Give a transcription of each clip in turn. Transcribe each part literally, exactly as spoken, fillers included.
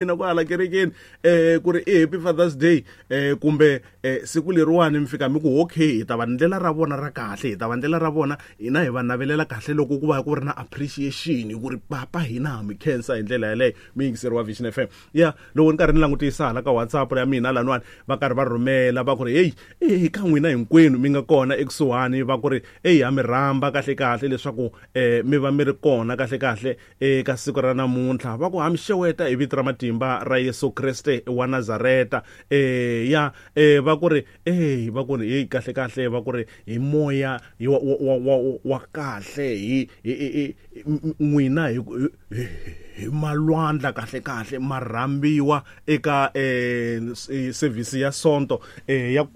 Na ku hala kerekeni eh ku ri i Happy Father's Day eh kumbe eh siku leriwani mi fika mi ku okay hi ta va ndlela ra vona ra kahle, hi ta va ndlela ra vona hina hi va navelela kahle loko ku va ku ri na appreciation ku ri papa hina ha mi khensa hi ndlela yaleyo. Mi yingiseri wa Vision F M ya loko ni karhi ni langutisa hala ka WhatsApp ya mina laniwani va karhi va rhumela va ku ri hey eh ka n'wina hinkwenu mi nga kona ekusuhani va ku ri hey ha mi rhamba kahle kahle leswaku eh mi va mi ri kona kahle kahle eka siku ra namuntlha va ku ha mi xeweta hi vito ra matimba ra Yesu Kriste wa Nazareta eh ya eh va ku ri eh va ku ri hey kahle kahle va ku ri hi moya wa wa wa kahle hi n'wina hi hi malwandla kahle kahle marhambiwa eka eh service ya sonto eh ya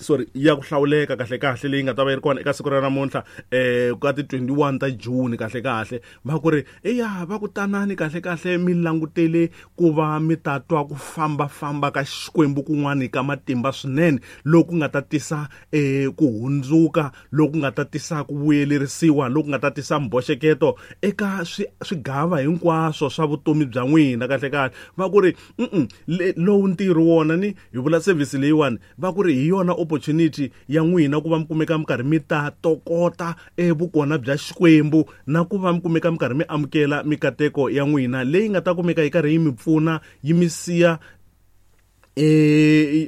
sorry ya ku hlawuleka kahle kahle leyi nga ta va yi ri kona eka siku ra namuntlha eh ka ti twenty-one ta June kahle kahle va ku ri eya va ku tanani kahle kahle mi langutele ku va mi ta twa ku famba famba ka Xikwembu kun'wani ka matimba swinene loku nga ta tisa eh ku hundzuka loku nga ta tisa ku vuyelerisiwa loku nga ta tisa mboxeketo eka swigava hinkwaswo swa vutomi bya n'wina kahle kahle va ku ri mm lowu ntirho wona ni hi vula service leyiwani va ku ri hi yona opportunity ya n'wina ku va mi kumeka mi karhi mi ta tokota evukona bya Xikwembu na ku va mi kumeka mi karhi mi amukela mikateko ya n'wina leyi nga ta kumeka yi karhi yi mi pfuna yi mi siya eh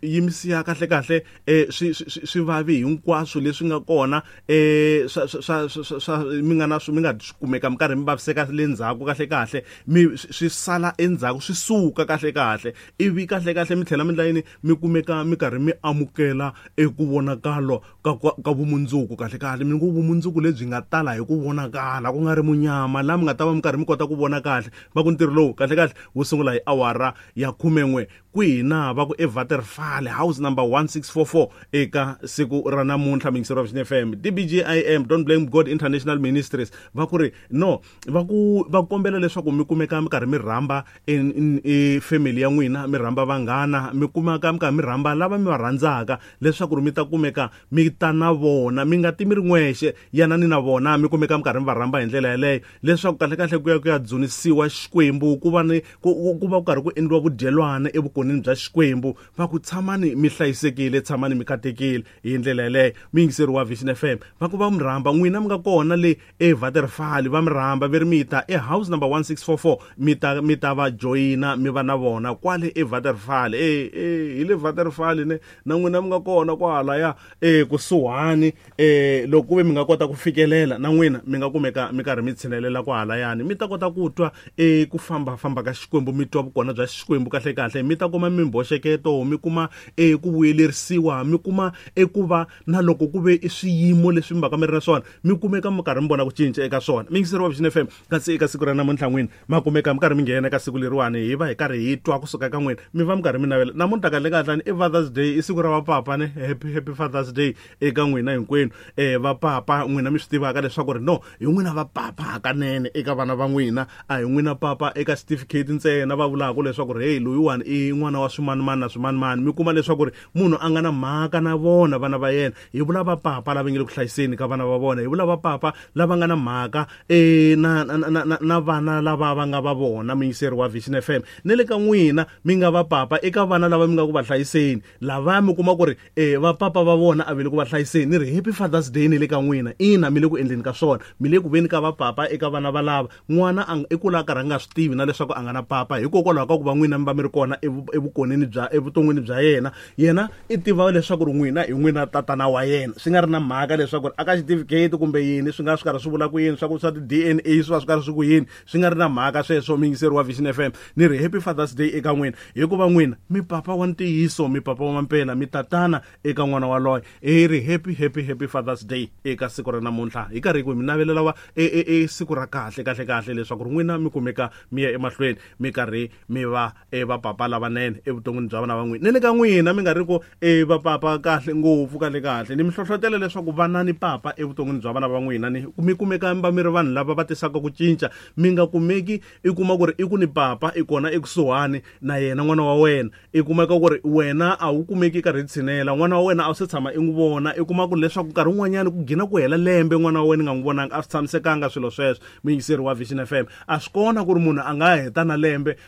yi mi siya kahle kahle eh swi swi vavi hinkwaswo leswi nga kona eh swa swa swa mi nga na swi mi nga kumeka mi karhi mi vaviseka le ndzhaku kahle kahle mi swi sala endzhaku swi suka kahle kahle ivi kahle kahle mi tlhela mi ndla yini mi kumeka mi karhi mi amukela eku vonakalo ka ka vumundzuku kahle kahle mi ku vumundzuku lebyi nga tala hi ku vonakala ku nga ri munyama la mi nga ta va mi karhi mi kota ku vona kahle va ku ntirho lowu kahle kahle wu sungula hi awara ya khumen'we kwihi na va ku eWaterfall house number one six four four eka siku ra namuntlha miyingiseri wa Vision F M D B G I M Don't Blame God International Ministries va ku ri no va ku va kombela leswaku mi kumeka mi karhi mi rhamba e family ya n'wina mi rhamba vanghana mi kumeka mi karhi mi rhamba lava mi va rhandzaka leswaku mi ta kumeka mi ta na vona mi nga ti mi ri n'wexe yanani na vona mi kumeka mi karhi mi va rhamba hi ndlela yaleyo leswaku kahle kahle ku ya ku ya dzunisiwa Xikwembu ku va ni ku va ku karhi ku endliwa vudyelwana evukoneni bya Xikwembu va ku tshamani mi hlayisekile tshamani mi katekile hi ndlela yaleyo. Miyingiseri wa Vision F M va ku va mi rhamba n'wina mi nga kona le eWaterfall va mi rhamba ve ri mi ta e house number one six four four mi ta mi ta va joyina mi va na vona kwale eWaterfall eh eh hi le Waterfall ne na n'wina mi nga kona kwala ya eh kusuhani eh loko ku ve mi nga kota ku fikelela na n'wina mi nga kumeka mi karhi mi tshinelela kwahalayani mi ta kota ku twa eh ku famba famba ka Xikwembu mi twa vukona bya Xikwembu kahle kahle mi ta kuma mimboxeketo mi kuma eh ku vuyelerisiwa mi kuma ekuva na loko ku ve i swiyimo leswi mi va ka mi ri na swona mi kumeka mi karhi mi vona ku cinca eka swona. Miyingiseri wa Vision F M kasi eka siku ra namuntlha n'wina ma kumeka mi karhi mi nghena eka siku leriwani hi va hi karhi hi twa kusuka ka n'wina mi va mi karhi mi navela namuntlha kahle kahle i Father's Day i siku ra vapapa ne happy happy Father's Day eka n'wina hinkwenu eh vapapa n'wina mi swi tivaka leswaku ri no hi n'wina vapapa hakanene eka vana va n'wina a hi n'wina papa eka certificate ntsena va vulaka leswaku ri hey loyiwani i n'wana wa swimanimani na swimanimani mi kuma leswaku ri munhu a nga na mhaka na vona vana va yena hi vula vapapa lava nge le ku hlayiseni ka vana va vona hi vula vapapa lava nga na mhaka eh na na na na vana lava va nga va vona miyingiseri wa Vision F M ne le ka n'wina mi nga vapapa eka vana lava mi nga ku va hlayiseni lava mi kuma ku ri eh vapapa va vona a ve le ku va hlayiseni ni ri Happy Father's Day ni le ka n'wina ina mi le ku endleni ka swona mi le ku veni ka vapapa eka vana va lava n'wana a i kula karhi a nga swi tivi na leswaku a nga na papa hikokwalaho ka ku va n'wina mi va mi ri kona evukoneni bya evuton'wini bya yena yena i tiva leswaku ri n'wina hi n'wina tatana wa yena swi nga ri na mhaka leswaku aka certificate kumbe yini swi nga swi karhi swi vula ku yini swa ku swa ti D N A swi va swi karhi swi ku yini swi nga ri na mhaka sweswo miyingiseri wa Vision F M ni ri Happy Father's Day eka n'wina hikuva n'wina mi papa wa ntiyiso mi papa wa mampela mi tatana eka n'wana waloye hi ri happy happy happy Father's Day eka siku ra namuntlha hi karhi ku mi navelela wa e e siku ra kahle kahle kahle leswaku ri n'wina mi kumeka mi ya emahlweni mi karhi mi va e va vapapa lavanene evuton'wini bya vana va n'wina. Ni le ka n'wina mi nga ri ku e vapapa kahle ngopfu kahle kahle, ni mi hlohlotela leswaku vanani papa evuton'wini bya vana va n'wina, ni mi kumeka mi va mi ri vanhu lava va tisaka ku cinca. Mi nga kumeki i kuma ku ri i ku ni papa i kona ekusuhani na yena n'wana wa wena, i kumeka ku ri wena a wu kumeki karhi tshinela n'wana wa wena, a wu se tshama i n'wi vona. I kuma ku leswaku nkarhi wun'wanyani ku gina ku hela lembe n'wana wa wena i nga n'wi vonanga. A swi tshamisekanga swilo sweswo, muyingiseri wa Vision F M. A swi kona ku ri munhu a nga heta na lembe.